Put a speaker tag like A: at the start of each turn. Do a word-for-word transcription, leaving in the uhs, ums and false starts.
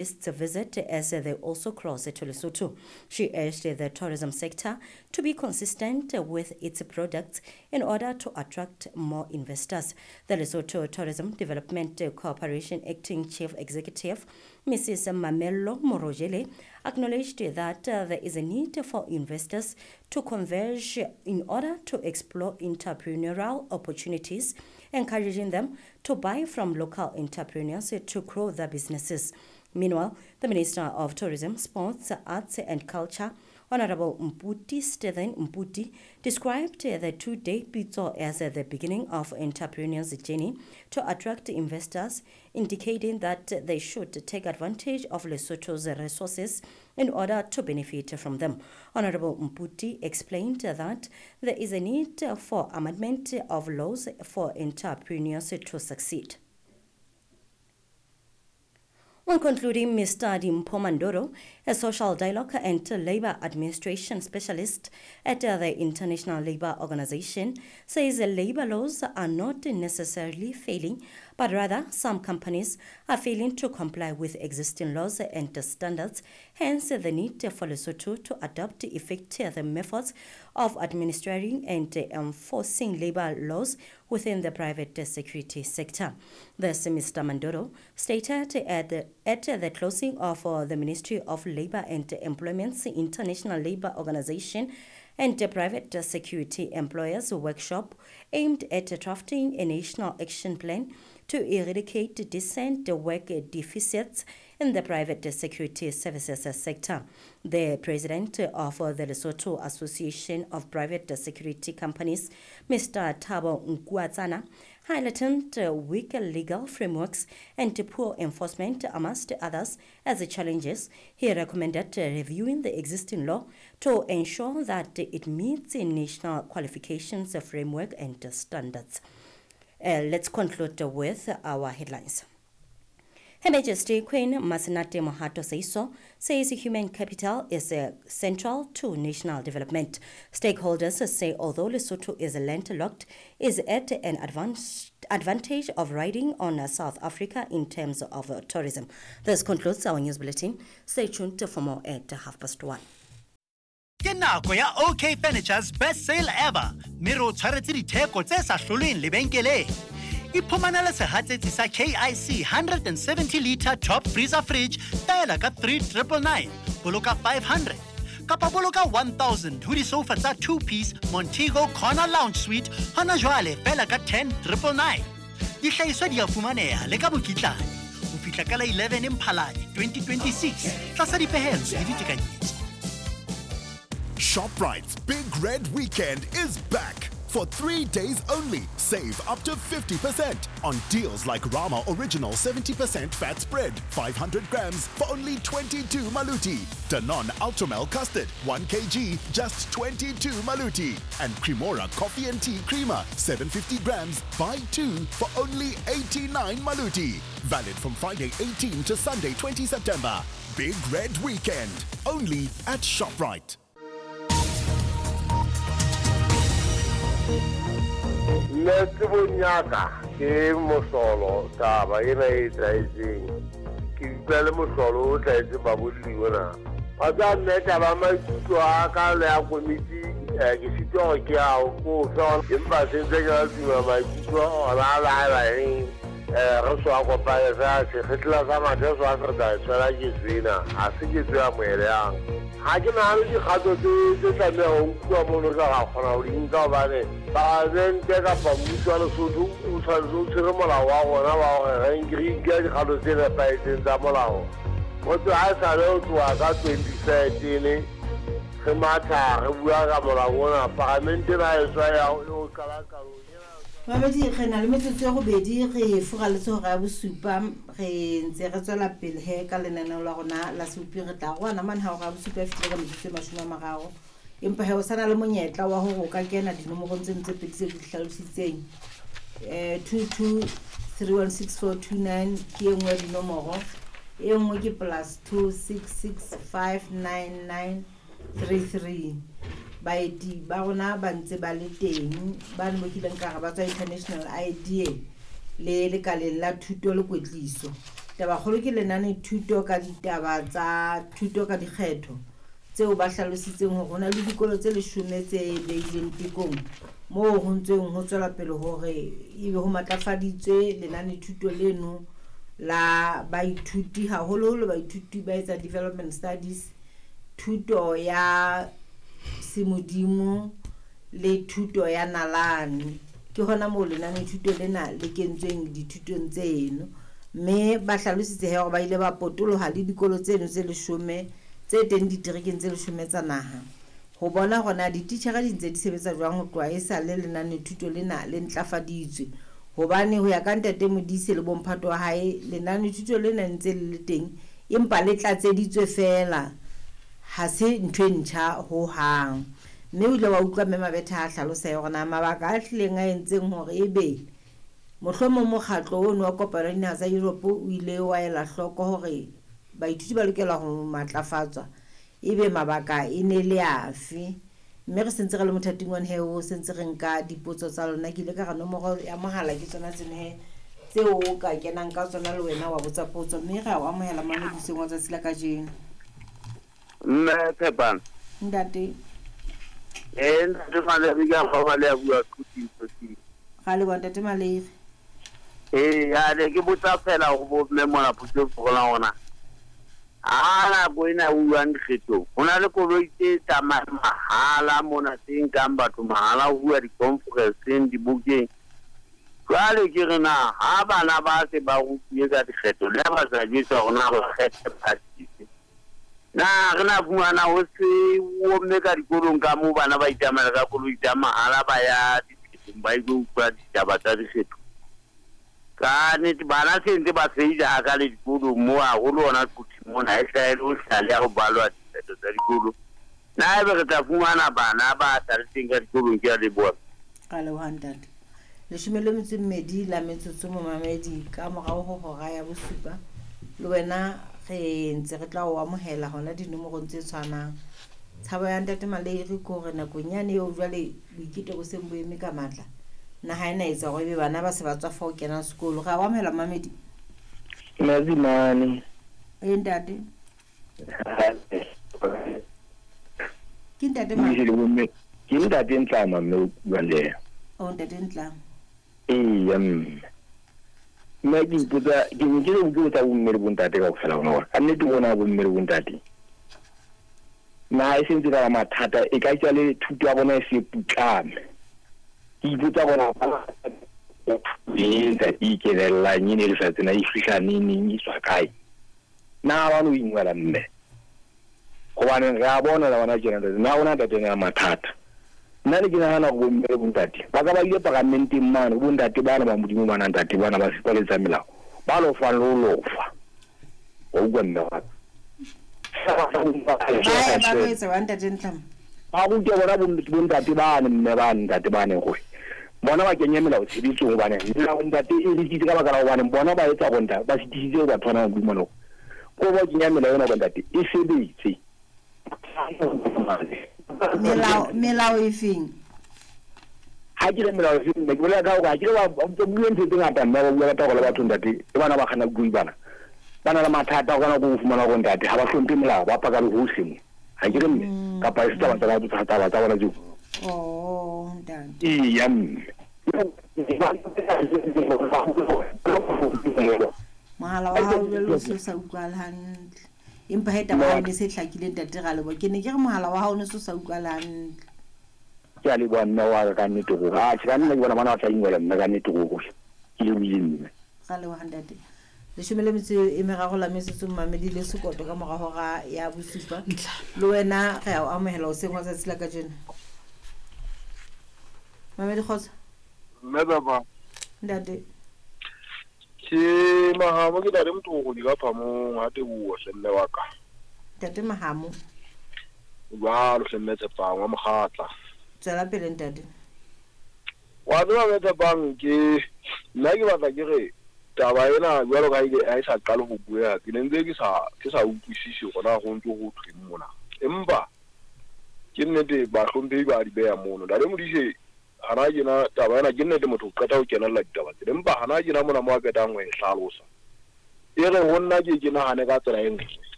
A: Visit as they also cross to Lesotho. She urged the tourism sector to be consistent with its products in order to attract more investors. The Lesotho Tourism Development Corporation Acting Chief Executive, Missus Mamello Morojele, acknowledged that there is a need for investors to converge in order to explore entrepreneurial opportunities, encouraging them to buy from local entrepreneurs to grow their businesses. Meanwhile, the Minister of Tourism, Sports, Arts and Culture, Honorable Mphuti Stephen Mphuti, described the two-day Pitso as the beginning of entrepreneurs' journey to attract investors, indicating that they should take advantage of Lesotho's resources in order to benefit from them. Honorable Mphuti explained that there is a need for amendment of laws for entrepreneurs to succeed. When concluding, Mister Dimpho Mandoro, a social dialogue and labor administration specialist at the International Labour Organization, says labor laws are not necessarily failing, but rather some companies are failing to comply with existing laws and standards, hence the need for Lesotho to adopt effective methods of administering and enforcing labor laws within the private security sector. This, Mister Mandoro stated at the, at the closing of uh, the Ministry of Labor and Employment's International Labour Organization and the Private Security Employers Workshop aimed at drafting a national action plan to eradicate decent work deficits in the private security services sector. The president of the Lesotho Association of Private Security Companies, Mister Thabo Nkuatsana, highlighted weak legal frameworks and poor enforcement, amongst others, as challenges. He recommended reviewing the existing law to ensure that it meets the national qualifications framework and standards. Uh, let's conclude with our headlines. Her Majesty Queen Masenate Mohato Seeiso says human capital is uh, central to national development. Stakeholders say although Lesotho is landlocked, is at an advanced advantage of riding on uh, South Africa in terms of uh, tourism. This concludes our news bulletin. Stay tuned for more at half past one.
B: Ke nako ya OK Furniture's best sale ever. Mme re o tshwaretse ditheko tse sa hlolweng lebenkeleng. Iphumanele sehatsetsi sa K I C hundred and seventy liter top freezer fridge fela ka three triple nine, boloka five hundred. Kapa boloka one thousand ho disofa tsa two piece Montego Corner Lounge Suite hona jwale fela ka ten triple nine. Dihlahiswa di a fumaneha le ka mokitlane ho fihla ka la eleven Mphalane twenty twenty-six tlasa dipehelo le ditekanyetso.
C: ShopRite's Big Red Weekend is back. For three days only, save up to fifty percent on deals like Rama Original seventy percent fat spread, five hundred grams for only twenty-two maluti. Danone Ultramel Custard, one kilogram, just twenty-two maluti. And Cremora Coffee and Tea Creamer, seven hundred fifty grams, buy two for only eighty-nine maluti. Valid from Friday eighteenth to Sunday twentieth September. Big Red Weekend, only at ShopRite.
D: Nna tsebong ya ka ke mohlolo taba ena e etsahetseng. Ke utlwa le mohlolo o tlwaetseng babolli ona. Wa tseba nna taba ya maikutlo a ka le ya komiti, eh, ke sitwa hore ke a o fe, empa se ntse ke la tuma maikutlo ona a la haeba eng, eh, re so a kopane fela, sekgetla sa mathe so a se re tla e tshwela ketso ena, ha se ketso e amohelehang. Ha ke nahane dikgato tse, tse tlamehang ho nkuwa mono re tla kgona ho di nka hobane palamente kapa mmuso wa Lesotho o tshwanetse o tshwere molao wa rona wa hore re nke re nke dikgato tse nepahetseng tsa molao. Motho ha e sale ho tloha ka twenty thirteen re matha re bua ka molao ona, palamente ena e tswa ya ho qala qalong.
E: Mamedi, re na le metsotso e robedi re furaletse hora ya bosupa, re ntse re tswela pele he ka lenaneo la rona la Sebopi. Re tla rwana mane ha hora ya bosupa e fihlile ka metsotso e mashome a mararo, empa he o sa na le monyetla wa hore o ka kena dinomorong tseno tse pedi tse ke di hlalositseng. Eh, two two three one six four two nine ke e nngwe ya dinomoro, e nngwe ke plus two six six five nine nine three three. Baeti ba rona ba ntse ba le teng, ba ne mo kileng ka re ba tswa International Idea le lekaleng la thuto le kwetliso. Tabakgolo ke lenane thuto ka ditaba tsa thuto ka dikgetho tseo ba hlalositseng hore ho na le dikolo tse leshome tse beilweng tekong moo ho ntseng ho tswela pele hore ebe ho matlafaditswe lenane thuto leno la baithuti, haholoholo baithuti ba etsa development studies, thuto ya semodimo le thuto ya nalane. Ke hona moo lenane thuto lena le kentsweng dithutong tseno, mme ba hlalositse he hore ba ile ba potoloha le dikolo tseno tse leshome tse teng diterekeng tse leshome tsa naha ho bona hore na dititjhere di ntse di sebetsa jwang ho tloha e sa le lenane thuto lena le ntlafaditswe. Hobane ho ya ka ntate Modise le bomphato wa hae, lenane thuto lena ntse le le teng empa le tlatseditswe feela, ha se ntho e ntjha ho hang. Mme o ile wa utlwa mme Mabetha a hlalosa hore na mabaka a hlileng a entseng hore ebe mohlomong mokgatlo ono wa kopano ya dinaha tsa Europe o ile wa ela hloko hore baithuti ba lokela ho matlafatswa, ebe mabaka e ne le afe. Mme re sentse re le mothating wa he o sentse re nka dipotso tsa lona. Ke ile ka re nomoro ya mohala ke tsona tseno he tseo o ka kenang ka tsona le wena wa botsa potso, mme re a o amohela mamediseng wa tsatsi la kajeno.
D: Mme Tshepang.
E: Ntate.
D: Eh, ntate Malere ke a kgolwa le a bua Quthing.
E: Ga le bona ntate Malere.
D: Eh, ya ne ke botsa fela go bo mme mona potso go la ona. A nako ena o buang dikgethong, ho na le koloi tse tsamayang mahala mona tse nkang batho mahala ho bua di-conference-eng, dibokeng. Jwale ke re na ha bana ba se ba rutuwe ka dikgetho, le ha ba sa jwetswa hore na ba kgethe party efe, na re na fumana ho se omme ka dikolong ka moo bana ba itsamaela ka koloi tsa mahala ba ya dikhethong ba ilo utlwa ditaba tsa dikgetho. Ka nnete bana se ntse ba feila haka le dikolong moo, haholo hona Quthing mona e hlaha ho hlale ha ho balwa dikgetho tsa dikolo. Na ebe re tla fumana bana ba sa le teng ka dikolong? Ke a leboha.
E: Ka leboha ntate. Leshome le metso e mmedi la metsotso momamedi ka morao ho hora ya bosupa. Le wena re ntse re tla o amohela hona dinomorong tse tshwanang. Tshabo ya ntate Malere ke hore nakong yane eo jwale boiketo bo seng bo eme ka matla, naha ena etsa hore ebe bana ba se ba tswa fa ho kena sekolo. Re a o amohela mamedi.
F: Mazimane.
E: E ntate. Ke ntate mang?
F: Ke ntate Ntlama mme o buang le yena.
E: O ntate Ntlama.
F: Eya mme. Nna ke ipotsa, ke ne ke re ke botsa bomme le bontate kaofela bona hore ka nnete bona bomme le bontate naha e sentse ka ba mathata, e ka tswa le thuto ya bona e se putlame. Ke ipotsa bona e ntse e ikelellang e ne le sa tsena e fihla neng neng e tswa kae. Na ba no ingwela mme, hobane re a bona la bona tjena ntate, na ona ntate na mathata. Nna ne ke nahana hore bomme le bontate ba ka ba ile paramenteng mane, bontate bana ba Modimo bana ntate bana ba sipaletsa melao, ba lo fa lo lofa. Wa utlwa mme wa ka.
E: Ba ba etsa wa ntate Ntlama.
F: Ba rute bona bontate bane mme ba ntate bane hore bona ba kenye melao tshebetsong, hobane melao ntate e rekitse ka baka la hobane bona ba etsa hore ntate ba sitisitse batho bana ba Modimo ko ba kenya melao ena bontate e sebetse.
E: Melao melao e feng?
F: Ha ke le melao e feng, ke bolela ka hore ha ke le ba bua ntho tse ngata mme ba bua ka taba le batho ntate, le bana ba kgana bui bana. Ba na le mathata o kana go fumana hore ntate ha ba hlomphe melao, ba paka le hohle mo. Ha ke re mme kapa e se taba tsa tsa taba tsa bona tseo.
E: Oh ntate.
F: Eya mme.
E: Mohala wa hao jwale o se o sa utlwahale hantle. Empa he taba ya ne se hlakile ntate Ralebo. Ke ne ke re mohala wa hao o ne se o sa utlwahale hantle.
F: Ke a leboha mme wa ka ka nnete ruri. Atjhe ka nna ke bona bana ba tla ingwela mme ka nnete ruri. Ke lebohile mme.
E: Ra leboha ntate. Leshome le metso e meraro la metsotso mmamedi le sekoto ka mora hora ya bosupa. Le wena re a o amohela hoseng wa tsatsi la kajeno. Mamedi kgotso.
G: Mme baba.
E: Ntate.
G: Ke Mahamo, ke ntate Motoko di ka phamong ha teboho hle mme wa ka.
E: Ntate Mahamo.
G: Jwalo hle mme Tshepang wa Mokgatla.
E: Tswela pele ntate.
G: Wa tseba mme Tshepang, ke nna ke batla ke re taba ena jwalo ka ha e sa qale ho bueha, ke ne ntse ke sa ke sa utlwisise hore na ho ntso ho thweng mona. Empa ke nnete bahlomphehi ba di beha mono. Ntate Modise hana tjena taba ena ke nnete motho o qeta ho kenella ditaba tsena, empa hana tjena mona mo a qetang ho e hlalosa. E re ho nna ke ke nahane ka tsela e nngwe.